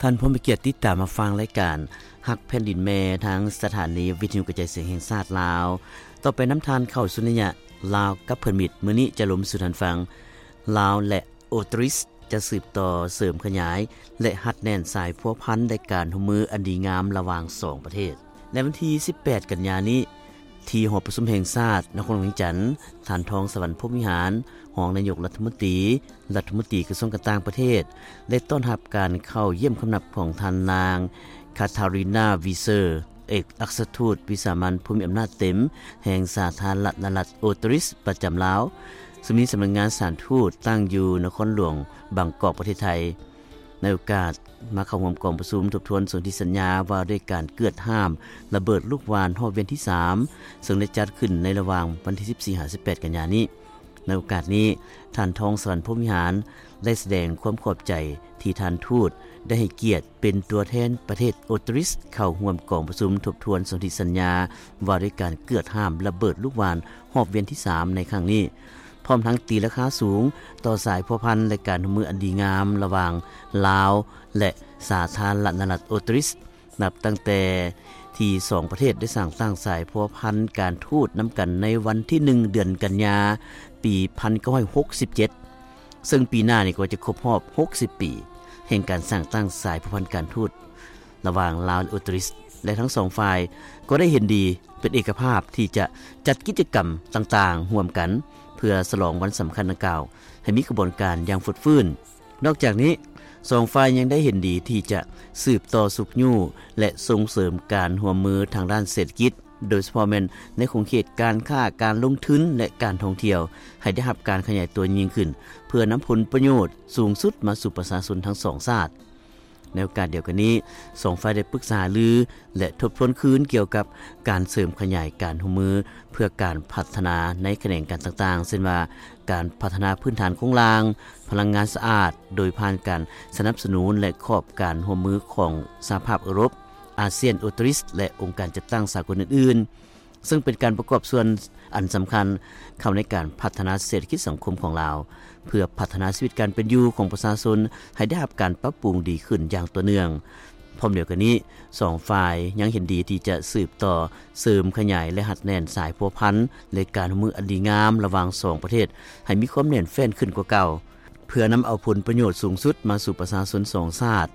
ທ່ານຜູ້ມີກຽດຕິດຕາມຮັບຟັງລາຍການຮັກແຜ່ນດິນແມ່ ທາງສະຖານີວິທະຍຸກະຈາຍສຽງແຫ່ງຊາດລາວ. ຕໍ່ໄປນຳທ່ານເຂົ້າສູ່ໄລຍະລາວກັບເພື່ອນມິດ. ມື້ນີ້ຈະລົມສູ່ທ່ານຟັງ ລາວ ແລະ ໂອຕຣິສ ຈະສືບຕໍ່ເສີມຂະຫຍາຍ ແລະ ຮັດແໜ້ນສາຍພົວພັນ ແລະ ການຮ່ວມມືອັນດີງາມລະຫວ່າງສອງປະເທດ. ໃນວັນທີສິບແປດ ກັນຍານີ້ ທີ່ຫໍປະຊຸມແຫ່ງຊາດນະຄອນຫຼວງວຽງຈັນ, ທ່ານ ທອງສະຫວັນ ພົມວິຫານ ຮອງນາຍົກລັດຖະມົນຕີ, ລັດຖະມົນຕີກະຊວງການຕ່າງປະເທດ ໄດ້ຕ້ອນຮັບການເຂົ້າຢ້ຽມຄຳນັບຂອງທ່ານນາງ ຄາທາຣີນາ ວີເຊີ ເອກອັກຄະທູດວິສາມັນຜູ້ມີອຳນາດເຕັມແຫ່ງສາທາລະນະລັດໂອຕຣິສປະຈຳລາວ, ຊຶ່ງມີສຳນັກງານສະຖານທູດຕັ້ງຢູ່ນະຄອນຫຼວງບາງກອກ ປະເທດໄທ. ໃນໂອກາດມາເຂົ້າຮ່ວມກອງປະຊຸມທົບທວນສົນທິສັນຍາວ່າດ້ວຍການເກືອດຫ້າມລະເບີດລູກຫວ່ານຮອບວຽນທີສາມ ເຊິ່ງໄດ້ຈັດຂຶ້ນໃນລະຫວ່າງວັນທີສິບສີ່ ຫາ ສິບແປດ ກັນຍານີ້. ໃນໂອກາດນີ້, ທ່ານ ທອງສະຫວັນ ພົມວິຫານ ໄດ້ສະແດງຄວາມຂອບໃຈທີ່ທ່ານທູດໄດ້ໃຫ້ກຽດເປັນຕົວແທນປະເທດໂອຕຣິສເຂົ້າຮ່ວມກອງປະຊຸມທົບທວນສົນທິສັນຍາວ່າດ້ວຍການເກືອດຫ້າມລະເບີດລູກຫວ່ານຮອບວຽນທີສາມໃນຄັ້ງນີ້, ພ້ອມທັງຕີລາຄາສູງຕໍ່ສາຍພົວພັນ ແລະ ການຮ່ວມມືອັນດີງາມລະຫວ່າງລາວ ແລະ ສາທາລະນະລັດໂອຕຣິສ. ນັບຕັ້ງແຕ່ທີ່ສອງປະເທດໄດ້ສ້າງຕັ້ງສາຍພົວພັນການທູດນຳກັນໃນວັນທີໜຶ່ງ ເດືອນກັນຍາ ປີພັນເກົ້າຮ້ອຍຫົກສິບເຈັດ ເຊິ່ງປີໜ້ານີ້ກໍຈະຄົບຮອບຫົກສິບປີ ແຫ່ງການສ້າງຕັ້ງສາຍພົວພັນການທູດລະຫວ່າງລາວ ແລະ ໂອຕຣິສ ແລະ ທັງສອງຝ່າຍກໍໄດ້ເຫັນດີເປັນເອກະພາບທີ່ຈະຈັດກິດຈະກຳຕ່າງໆຮ່ວມກັນ ເພື່ອສະຫຼອງວັນສຳຄັນດັ່ງກ່າວໃຫ້ມີຂະບວນການຢ່າງຟົດຟື້ນ. ນອກຈາກນີ້, ສອງຝ່າຍຍັງໄດ້ເຫັນດີທີ່ຈະສືບຕໍ່ຊຸກຍູ້ ແລະ ສົ່ງເສີມການຮ່ວມມືທາງດ້ານເສດຖະກິດ, ໂດຍສະເພາະແມ່ນໃນຂົງເຂດການຄ້າ, ການລົງທຶນ ແລະ ການທ່ອງທ່ຽວ ໃຫ້ໄດ້ຮັບການຂະຫຍາຍຕົວຍິ່ງຂຶ້ນ ເພື່ອນຳຜົນປະໂຫຍດສູງສຸດມາສູ່ປະຊາຊົນທັງສອງຊາດ. ໃນໂອກາດດຽວກັນນີ້, ສອງຝ່າຍໄດ້ປຶກສາຫາລື ແລະ ທົບທວນຄືນກ່ຽວກັບການເສີມຂະຫຍາຍການຮ່ວມມືເພື່ອການພັດທະນາໃນຂະແໜງການຕ່າງໆ ເຊັ່ນວ່າ ການພັດທະນາພື້ນຖານໂຄງລ່າງ, ພະລັງງານສະອາດ ໂດຍຜ່ານການສະໜັບສະໜູນ ແລະ ຂອບການຮ່ວມມືຂອງສະຫະພາບເອີຣົບ, ອາຊຽນ, ໂອຕຣິສ ແລະ ອົງການຈັດຕັ້ງສາກົນອື່ນໆ, ເຊິ່ງເປັນການປະກອບສ່ວນອັນສຳຄັນເຂົ້າໃນການພັດທະນາເສດຖະກິດສັງຄົມຂອງລາວ, ເພື່ອພັດທະນາຊີວິດການເປັນຢູ່ຂອງປະຊາຊົນໃຫ້ໄດ້ຮັບການປັບປຸງດີຂຶ້ນຢ່າງຕໍ່ເນື່ອງ. ພ້ອມດຽວກັນນີ້, ສອງຝ່າຍຍັງເຫັນດີທີ່ຈະສືບຕໍ່ເສີມຂະຫຍາຍ ແລະ ຮັດແໜ້ນສາຍພົວພັນ ແລະ ການຮ່ວມມືອັນດີງາມລະຫວ່າງສອງປະເທດໃຫ້ມີຄວາມແໜ້ນແຟ້ນຂຶ້ນກວ່າເກົ່າ, ເພື່ອນຳເອົາຜົນປະໂຫຍດສູງສຸດມາສູ່ປະຊາຊົນສອງຊາດ,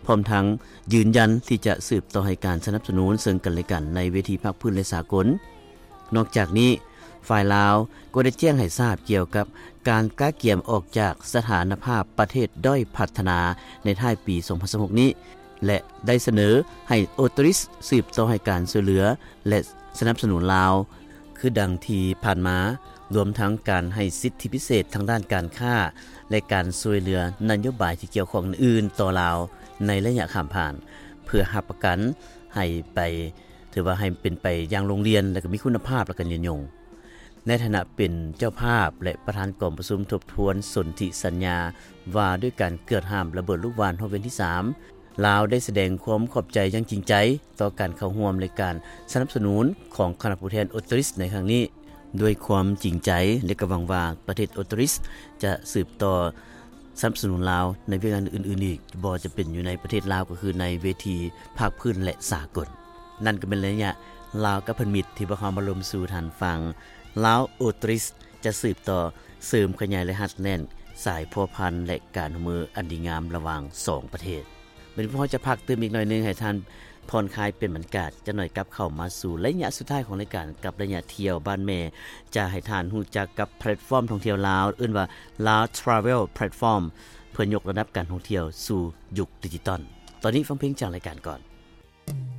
ພ້ອມທັງຢືນຢັນທີ່ຈະສືບຕໍ່ໃຫ້ການສະໜັບສະໜູນເຊິ່ງກັນແລະກັນໃນເວທີພາກພື້ນ ແລະ ສາກົນ. ນອກຈາກນີ້, ຝ່າຍລາວກໍໄດ້ແຈ້ງໃຫ້ຊາບກ່ຽວກັບການກະກຽມອອກຈາກສະຖານະພາບປະເທດດ້ອຍພັດທະນາໃນທ້າຍປີສອງພັນຊາວຫົກນີ້ ແລະ ໄດ້ສະເໜີໃຫ້ໂອຕຣິສສືບຕໍ່ໃຫ້ການຊ່ວຍເຫຼືອ ແລະ ສະໜັບສະໜູນລາວ ຄືດັ່ງທີ່ຜ່ານມາ, ລວມທັງການໃຫ້ສິດທິພິເສດທາງດ້ານການຄ້າ ແລະ ການຊ່ວຍເຫຼືອນະໂຍບາຍທີ່ກ່ຽວຂ້ອງອື່ນໆຕໍ່ລາວໃນໄລຍະຂ້າມຜ່ານ, ເພື່ອຮັບປະກັນໃຫ້ໄປ ຖືວ່າໃຫ້ເປັນໄປຢ່າງໂລງລຽນ ແລະ ກໍມີຄຸນນະພາບ ແລະ ກໍຍືນຍົງ. ໃນຖານະເປັນເຈົ້າພາບ ແລະ ປະທານກອງປະຊຸມທົບທວນສົນທິສັນຍາວ່າດ້ວຍການເກືອດຫ້າມລະເບີດລູກຫວ່ານຮອບວຽນທີສາມ, ລາວໄດ້ສະແດງຄວາມຂອບໃຈຢ່າງຈິງໃຈຕໍ່ການເຂົ້າຮ່ວມ ແລະ ການສະໜັບສະໜູນຂອງຄະນະຜູ້ແທນໂອຕຣິສໃນຄັ້ງນີ້. ດ້ວຍຄວາມຈິງໃຈ ແລະ ກໍຫວັງວ່າປະເທດໂອຕຣິສຈະສືບຕໍ່ສະໜັບສະໜູນລາວໃນວຽກງານອື່ນໆອີກ, ບໍ່ຈຳເປັນຢູ່ໃນປະເທດລາວ, ກໍຄືໃນເວທີພາກພື້ນ ແລະ ສາກົນ. ນັ້ນກໍແມ່ນໄລຍະລາວກັບເພື່ອນມິດ ທີ່ພວກເຮົາມາລົມສູ່ທ່ານຟັງ. ລາວ-ໂອຕຣິສ ຈະສືບຕໍ່ເສີມຂະຫຍາຍ ແລະ ຮັດແໜ້ນສາຍພົວພັນ ແລະ ການຮ່ວມມືອັນດີງາມລະຫວ່າງສອງປະເທດ. ບັດນີ້ພວກເຮົາຈະພັກຕື່ມອີກໜ້ອຍໜຶ່ງ ໃຫ້ທ່ານຜ່ອນຄາຍປ່ຽນບັນຍາກາດຈັກໜ້ອຍ, ກັບເຂົ້າມາສູ່ໄລຍະສຸດທ້າຍຂອງລາຍການ ກັບໄລຍະທ່ຽວບ້ານແມ່, ຈະໃຫ້ທ່ານຮູ້ຈັກກັບແພລດຟອມທ່ອງທ່ຽວລາວ ເອີ້ນວ່າ Lao Travel Platform ເພື່ອຍົກລະດັບການທ່ອງທ່ຽວສູ່ຍຸກດິຈິຕອນ. ຕອນນີ້ຟັງເພງຈາກລາຍການກ່ອນ.